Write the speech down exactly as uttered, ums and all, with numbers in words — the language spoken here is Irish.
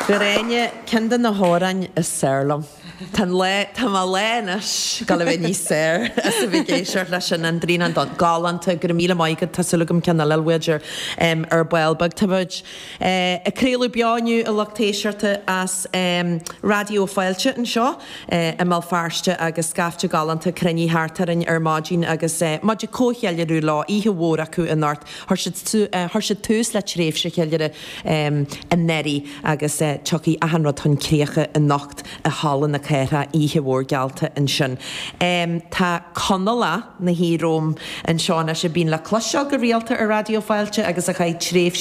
Gráinne, ceann de na hamhráin is fearr liom. Tá an lá, tá mo lá anois ag dul a bheith níos fearr as a bheith ag éisteacht leis sin, An Grianán Donn. Galánta, go raibh míle maith agat, tá súil agam ceann eile a fháil uait ar ball beag. Tá muid ag craoladh beo inniu a lucht éisteachta as Raidió Fáilte anseo i mBéal Feirste agus scaifte galánta cruinnithe thart orainn ar maidin agus muid ag comhcheiliúradh leo, oíche mhór acu anocht. Chuir siad tús le tréimhse cheiliúradh anuraidh agus tiocfaidh achan rud chun críocha anocht i Halla na Cathrach, oíche mhór geallta ansin. Tá Conallach 'na shuí romham anseo anois a bíonn le cloisteáil go rialta ar Raidió Fáilte agus a chaith tréimhse